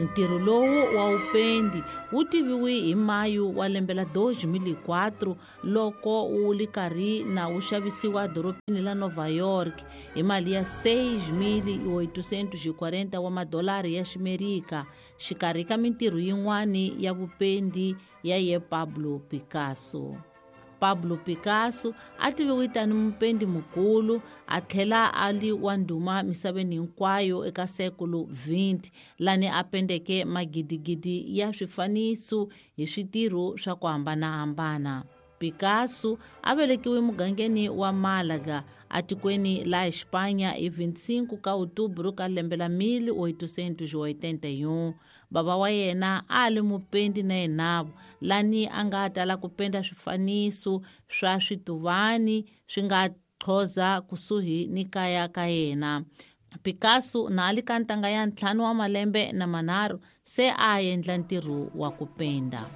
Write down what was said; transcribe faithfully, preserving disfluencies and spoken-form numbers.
Ntirho lowu wa upendi wu tiviwe hi mayu wa lembe la dois mil e quatro loko wu li karhi na wu xavisiwa dorobeni la Nova York hi mali ya seis mil e oitocentos e quarenta wa madolari ya Ximerika, xikarhi ka mintirho yin'wani ya vupendi ya ye Pablo Picasso. Pablo Picasso a tiviwe tani mupendi mukulu a tlhela a li wa ndhuma misaveni hinkwayo eka sekulu vinte, lani a pendeke magidigidi ya swifaniso hi switirho swa ku hambanahambana. Picasso a velekiwe mugangeni wa Málaga atikweni la Espanha hi vinte e cinco ka outubro ka lembe la mil oitocentos e oitenta e um. Baba wa yena a li mupendi na yenavo, lani a nga tala ku penda swifaniso swa swituvani swi nga qhoza kusuhi ni kaya ka yena. Picasso na a li ka ntanga ya ntlhanu wa malembe na manharhu se a endla ntirho wa ku penda.